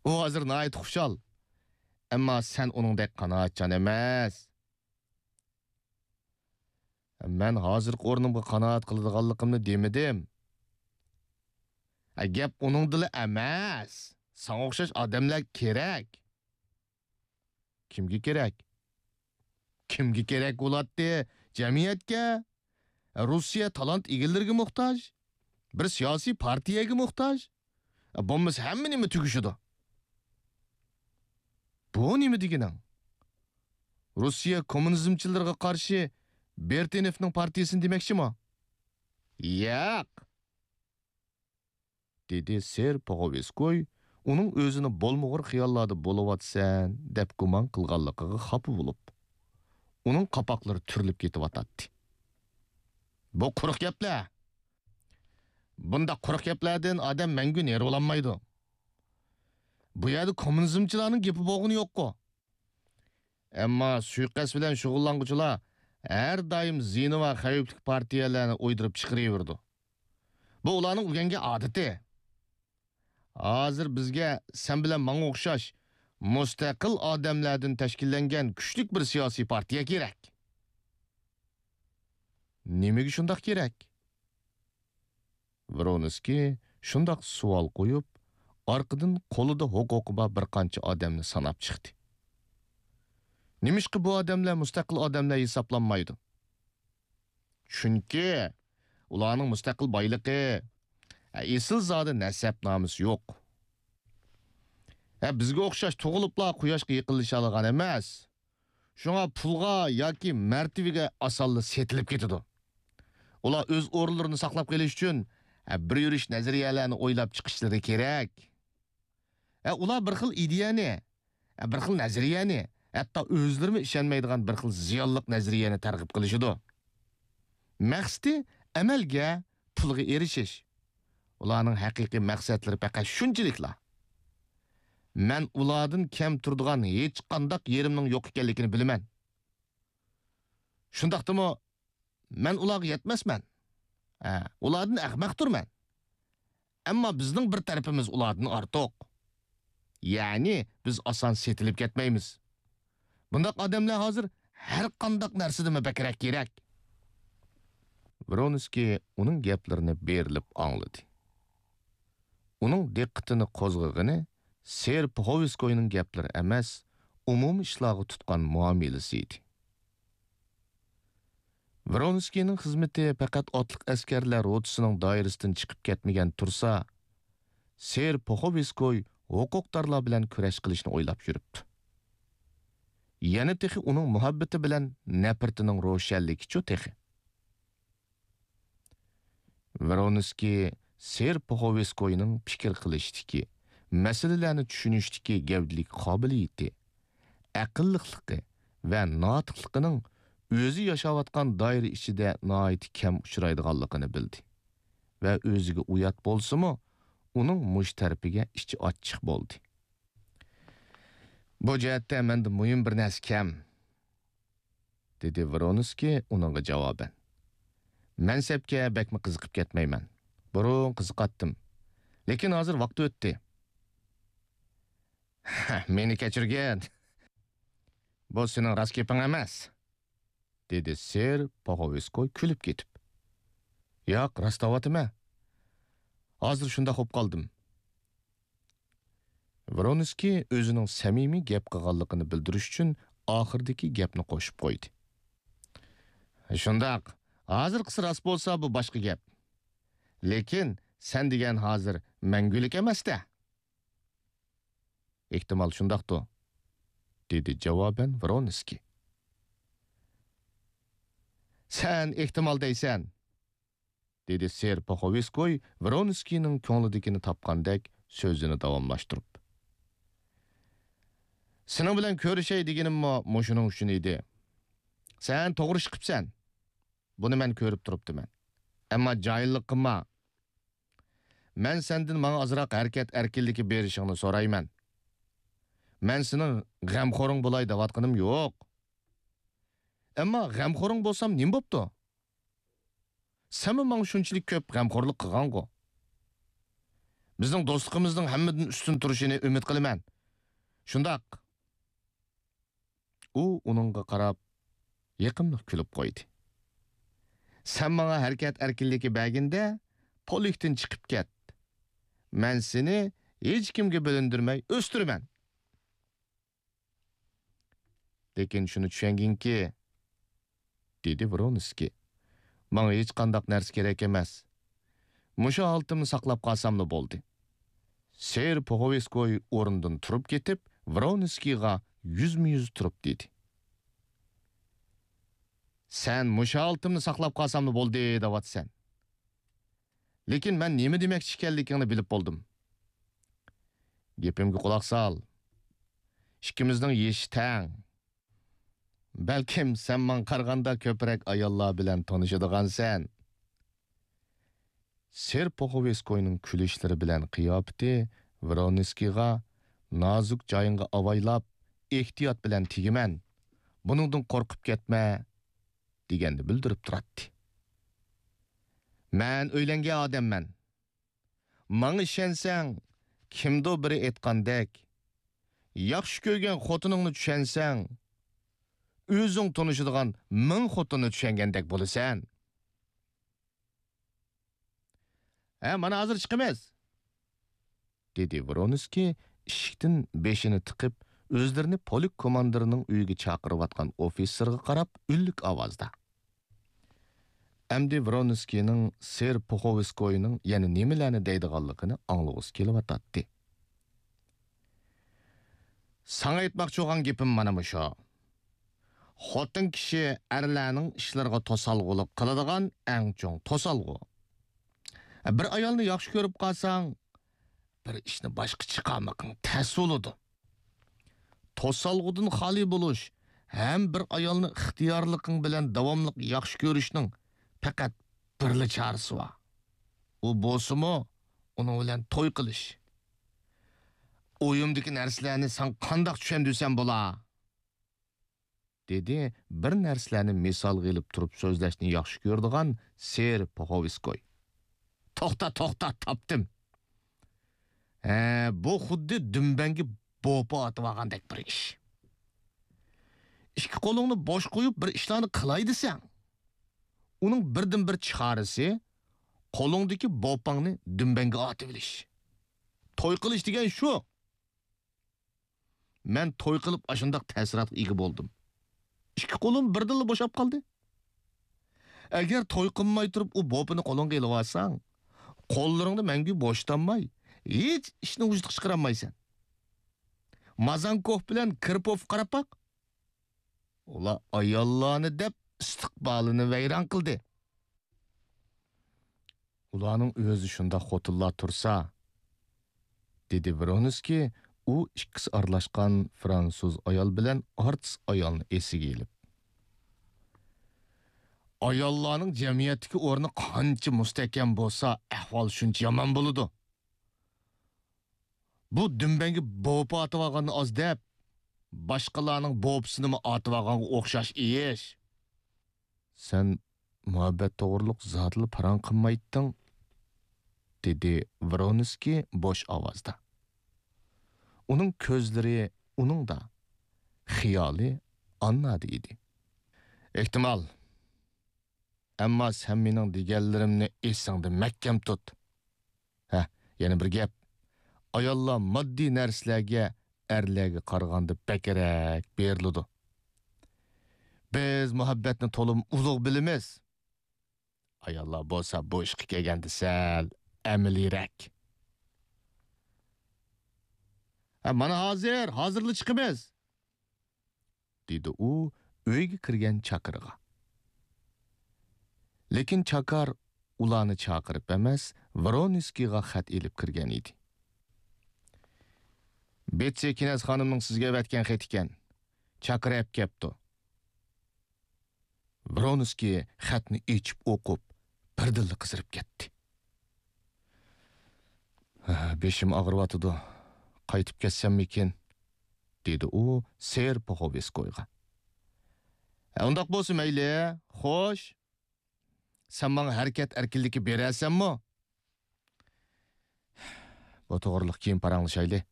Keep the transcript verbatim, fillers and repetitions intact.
ئۇ ھازىر ناھايىتى خۇشال. ئەمما سەن ئۇنىڭدەك قانائەتچان ئەمەس. مەن ھازىرقى ئورنۇمغا قانائەت قىلىدىغانلىقىمنى دېمىدىم. ھە، گەپ ئۇنىڭدىلا ئەمەس. ساڭا ئوخشاش ئادەملەر كېرەك. كىمگە كېرەك؟ كىمگە كېرەك بولاتتى؟ جەمئىيەتكە. روسىيە تالانت ئىگىلىرىگە موھتاج. بىر سىياسىي پارتىيەگە موھتاج. بولمىسا ھەممە نېمە تۈگىشىدۇ. بۇ نېمە دېگىنىڭ؟ روسىيە كوممۇنىزمچىلىرىغا قارشى بېرتىنېفنىڭ پارتىيىسىنى دېمەكچىمۇ؟ ياق! دېدى سېر پوغوۋسكوي ئۇنىڭ ئۆزىنى بولمىغۇر خىياللاردا بولۇۋاتىسەن دەپ گۇمان قىلغانلىقىغا خاپا بولۇپ. ئۇنىڭ قاپاقلىرى تۈرۈلۈپ كېتىۋاتاتتى. بۇ قۇرۇق گەپلەر. بۇنداق قۇرۇق گەپلەردىن ئادەم مەڭگۈ نېرى بولالمايدۇ. بۇ يەردە كوممۇنىزمچىلارنىڭ گېپى بولغىنى يوققۇ. ئەمما سۇيىقەست بىلەن شۇغۇللانغۇچىلار ھەر دائىم زىيىنى بار خەۋپلىك پارتىيەلەرنى ئويدۇرۇپ چىقىرىۋېرىدۇ. بۇ ئۇلارنىڭ ئۆگەنگەن ئادىتى. ھازىر بىزگە سەن بىلەن ماڭا ئوخشاش مۇستەقىل ئادەملەردىن تەشكىللەنگەن كۈچلۈك بىر سىياسىي پارتىيە كېرەك. نېمىگە شۇنداق كېرەك؟ ۋرونسكىي شۇنداق سوئال قويۇپ، ئارقىدىن قولىدا ھوقۇقى بار بىر قانچە ئادەمنى ساناپ چىقتى. نېمىشقا بۇ ئادەملەر مۇستەقىل ئادەملەر ھېسابلانمايدۇ؟ چۈنكى ئۇلارنىڭ مۇستەقىل بايلىقى، ئېسىل زادى نەسەبنامىسى يوق. ھە، بىزگە ئوخشاش تۇغۇلۇپلا قۇياشقا يېقىنلىشالىغان ئەمەس. شۇڭا پۇلغا ياكى مەرتىۋىگە ئاسانلا سېتىلىپ كېتىدۇ. ئۇلار ئۆز ئورۇنلىرىنى ساقلاپ قېلىش ئۈچۈن، ھە، بىر يۈرۈش نەزەرىيەلەرنى ئويلاپ چىقىشلىرى كېرەك. ھە، ئۇلار بىر خىل ئىدىيەنى، ھە، بىر خىل نەزەرىيەنى، ھەتتا ئۆزلىرىمۇ ئىشەنمەيدىغان بىر خىل زىيانلىق نەزەرىيەنى تەرغىب قىلىشىدۇ. مەقسىتى ئەمەلگە، پۇلغا ئېرىشىش. ئۇلارنىڭ ھەقىقىي مەقسەتلىرى پەقەت شۇنچىلىكلا. مەن ئۇلاردىن كەم تۇرىدىغان ھېچقانداق يېرىمنىڭ يوق ئىكەنلىكىنى بىلىمەن. شۇنداقتىمۇ مەن ئۇلارغا يەتمەسمەن. ھە، ئۇلاردىن ئەخمەقتۇرمەن. ئەمما بىزنىڭ بىر تەرىپىمىز ئۇلاردىن ئارتۇق. يەنى بىز ئاسان سېتىلىپ كەتمەيمىز. بۇنداق ئادەملەر ھازىر ھەر قانداق نەرسىدىنمۇ بەكرەك كېرەك. ۋرونسكىي ئۇنىڭ گەپلىرىنى بېرىلىپ ئاڭلىدى. ئۇنىڭ دىققىتىنى قوزغىغىنى سېر پوخوۋسكوينىڭ گەپلىرى ئەمەس، ئومۇمىي ئىشلارغا تۇتقان مۇئامىلىسى ئىدى. ۋرونسكىينىڭ خىزمىتى پەقەت ئاتلىق ئەسكەرلەر روتىسىنىڭ دائىرىسىدىن چىقىپ كەتمىگەن تۇرسا، سېر پوخوۋسكوي ھوقۇقدارلار بىلەن كۈرەش قىلىشنى ئويلاپ يۈرۈپتۇ. يەنە تېخى ئۇنىڭ مۇھەببىتى بىلەن نەپرىتىنىڭ روشەنلىكىچۇ تېخى. ۋرونسكىي سېر پوخوۋسكوينىڭ پىكىر قىلىشتىكى، مەسىلىلەرنى چۈشىنىشتىكى گەۋدىلىك قابىلىيىتى، ئەقىللىقلىقى ۋە ناتىقلىقىنىڭ ئۆزى ياشاۋاتقان دائىرە ئىچىدە ناھايىتى كەم ئۇچرايدىغانلىقىنى بىلدى ۋە ئۆزىگە ئۇيات بولسىمۇ، ئۇنىڭ مۇشۇ تەرىپىگە ئىچى ئاچچىق بولدى. بۇ جەھەتتە مەندە مۇھىم بىر نەرسە كەم. دېدى ۋرونسكىي ئۇنىڭغا جاۋابەن. مەنسەپكە بەكمۇ قىزىقىپ كەتمەيمەن. بۇرۇن قىزىقاتتىم. لېكىن ھازىر ۋاقتى ئۆتتى. مېنى كەچۈرگىن. بۇ سېنىڭ راست گېپىڭ ئەمەس، دېدى سېر پوخوۋسكوي كۈلۈپ كېتىپ. ياق، راست دەۋاتىمەن. ھازىر شۇنداق بولۇپ قالدىم. ۋرونسكىي ئۆزىنىڭ سەمىمىي گەپ قىلغانلىقىنى بىلدۈرۈش ئۈچۈن ئاخىرىدىكى گەپنى قوشۇپ قويدى. شۇنداق، ھازىرقىسى راست بولسا، بۇ باشقا گەپ. لېكىن سەن دېگەن ھازىر مەڭگۈلۈك ئەمەس-دە. ئېھتىمال شۇنداقتۇ، دېدى جاۋابەن ۋرونسكىي. سەن ئېھتىمال دەيسەن، دېدى سېر پوخوۋسكوي ۋرونسكىينىڭ كۆڭلىدىكىنى تاپقاندەك سۆزىنى داۋاملاشتۇرۇپ. سېنىڭ بىلەن كۆرۈشەي دېگىنىممۇ مۇشۇنىڭ ئۈچۈن ئىدى. سەن توغرا ئىش قىپسەن. بۇنى مەن كۆرۈپ تۇرۇپتىمەن. ئەمما جاھىللىق قىلما. مەن سەندىن ماڭا ئازراق ھەرىكەت ئەركىنلىكى بېرىشىڭنى سورايمەن. مەن سېنىڭ غەمخورۇڭ بولاي دەۋاتقىنىم يوق. ئەمما غەمخورۇڭ بولسام نېمە بوپتۇ؟ سەنمۇ ماڭا شۇنچىلىك كۆپ غەمخورلۇق قىلغانغۇ. بىزنىڭ دوستلۇقىمىزنىڭ ھەممىدىن ئۈستۈن تۇرۇشىنى ئۈمىد قىلىمەن. شۇنداق. ئۇ ئۇنىڭغا قاراپ يېقىملىق كۈلۈپ قويدى. سەن ماڭا ھەرىكەت ئەركىنلىكى بەرگىندە، پولكتىن چىقىپ كەت. مەن سېنى ھېچكىمگە بىلىندۈرمەي ئۆستۈرىمەن. لېكىن شۇنى چۈشەنگىنكى، دېدى ۋرونسكىي. ماڭا ھېچقانداق نەرسە كېرەك ئەمەس. مۇشۇ ھالىتىمنى ساقلاپ قالساملا بولدى. سېر پوخوۋسكوي ئورنىدىن تۇرۇپ كېتىپ، ۋرونسكىيغا يۈزمۇ يۈز تۇرۇپ دېدى. سەن مۇشۇ ھالىتىمنى ساقلاپ قالساملا بولدى دەۋاتىسەن. لېكىن مەن نېمە دېمەكچى ئىكەنلىكىڭنى بىلىپ بولدۇم. گېپىمگە قۇلاق سال. ئىككىمىزنىڭ يېشى تەڭ. بەلكىم سەن ماڭا قارىغاندا كۆپرەك ئاياللار بىلەن تونۇشىدىغانسەن. سېر پوخوۋسكوينىڭ كۈلۈشلىرى بىلەن قىياپىتى ۋرونسكىيغا نازۇك جايىڭغا ئاۋايلاپ، ئېھتىيات بىلەن تېگىمەن، بۇنىڭدىن قورقۇپ كەتمە، دېگەننى بىلدۈرۈپ تۇراتتى. مەن ئۆيلەنگەن ئادەممەن. ماڭا ئىشەنسەڭ، كىمدۇ بىرى ئېيتقاندەك، ياخشى كۆرگەن خوتۇنۇڭنى چۈشەنسەڭ، ئۆزۈڭ تونۇشىدىغان مىڭ خوتۇننى چۈشەنگەندەك بولىسەن. ھە، مانا ھازىر چىقىمىز، دېدى ۋرونسكىي ئىشىكتىن بېشىنى تىقىپ، ئۆزلىرىنى پولك كوماندىرىنىڭ ئۆيىگە چاقىرىۋاتقان ئوفىتسېرغا قاراپ ئۈنلۈك ئاۋازدا. ئەمدى ۋرونسكىينىڭ سېر پوخوۋسكوينىڭ يەنە نېمىلەرنى دەيدىغانلىقىنى ئاڭلىغۇسى كېلىۋاتاتتى. ساڭا ئېيتماقچى بولغان گېپىم مانا مۇشۇ. خوتۇن كىشى ئەرلەرنىڭ ئىشلىرىغا توسالغۇلۇق قىلىدىغان ئەڭ چوڭ توسالغۇ. بىر ئايالنى ياخشى كۆرۈپ قالساڭ، بىر ئىشنى باشقا چىقارمىقىڭ تەس بولىدۇ. توسالغۇدىن خالىي بولۇش ھەم بىر ئايالنى ئىختىيارلىقىڭ بىلەن داۋاملىق ياخشى كۆرۈشنىڭ پەقەت بىرلا چارىسى بار. ئۇ بولسىمۇ، ئۇنىڭ بىلەن توي قىلىش. ئويۇمدىكى نەرسىلەرنى ساڭا قانداق چۈشەندۈرسەم بولا؟ دېدى بىر نەرسىلەرنى مىسالغا ئېلىپ تۇرۇپ سۆزلەشنى ياخشى كۆرىدىغان سېر پوخوۋسكوي. توختا، توختا، تاپتىم. ھە، بۇ خۇددى دۈمبەڭگە بوپا ئاتىۋالغاندەك بىر ئىش. ئىككى قولۇڭنى بوش قويۇپ بىر ئىشلارنى قىلاي دېسەڭ، ئۇنىڭ بىردىنبىر چارىسى قولۇڭدىكى بوپاڭنى دۈمبەڭگە ئاتىۋېلىش. توي قىلىش دېگەن شۇ. مەن توي قىلىپ ئاشۇنداق تەسىراتقا ئىگە بولدۇم. ئىككى قولۇم بىردىنلا بوشاپ قالدى. ئەگەر توي قىلماي تۇرۇپ ئۇ بوپىنى قولۇڭغا ئېلىۋالساڭ، قوللىرىڭنى مەڭگۈ بوشىتالماي، ھېچ ئىشنى ۋۇجۇدقا چىقىرالمايسەن. مازانكوف بىلەن كىرپوفقا قاراپ باق. ئۇلار ئاياللارنى دەپ ئىستىقبالىنى ۋەيران قىلدى. ئۇلارنىڭ ئۆزى شۇنداق خوتۇنلار تۇرسا، دېدى ۋرونسكىي ئۇ ئىككىسى ئارىلاشقان فرانسۇز ئايال بىلەن ئارتىس ئايالنى ئېسىگە ئېلىپ. ئاياللارنىڭ جەمئىيەتتىكى ئورنى قانچە مۇستەھكەم بولسا، ئەھۋال شۇنچە يامان بولىدۇ. بۇ دۈمبەڭگە بوپا ئاتىۋالغاننى ئاز دەپ، باشقىلارنىڭ بوپىسىنىمۇ ئاتىۋالغانغا ئوخشاش ئىش. سەن مۇھەببەت توغرۇلۇق زادىلا پاراڭ قىلمايتتىڭ، دېدى ۋرونسكىي بوش ئاۋازدا. ئۇنىڭ كۆزلىرى ئۇنىڭدا، خىيالى ئاننادا ئىدى. ئېھتىمال. ئەمما سەن مېنىڭ دېگەنلىرىمنى ئېسىڭدە مەھكەم تۇت. ھە، يەنە بىر گەپ. ئاياللار ماددىي نەرسىلەرگە ئەرلەرگە قارىغاندا بەكرەك بېرىلىدۇ. بىز مۇھەببەتنى تولىمۇ ئۇلۇغ بىلىمىز. ئاياللار بولسا بۇ ئىشقا كەلگەندە سەل ئەمەلىيرەك. ھە، مانا ھازىر، ھازىرلا چىقىمىز. دېدى ئۇ ئۆيگە كىرگەن چاكىرىغا. لېكىن چاكار ئۇلارنى چاقىرىپ ئەمەس، ۋرونسكىيغا خەت ئېلىپ كىرگەن ئىدى. بېتسى كىنەز خانىمنىڭ سىزگە ئەۋەتكەن خېتى ئىكەن. چاكىر ئەپ كەپتۇ. ۋرونسكىي خەتنى ئېچىپ ئوقۇپ، بىردىنلا قىزىرىپ كەتتى. «ھە، بېشىم ئاغرىۋاتىدۇ. قايتىپ كەتسەممىكىن؟» دېدى ئۇ سېر پوخوۋسكويغا. «ھە، ئۇنداق بولسا مەيلى. خوش. سەن ماڭا ھەرىكەت ئەركىنلىكى بېرەرسەنمۇ؟» بۇ توغرىلىق كېيىن پاراڭلىشايلى.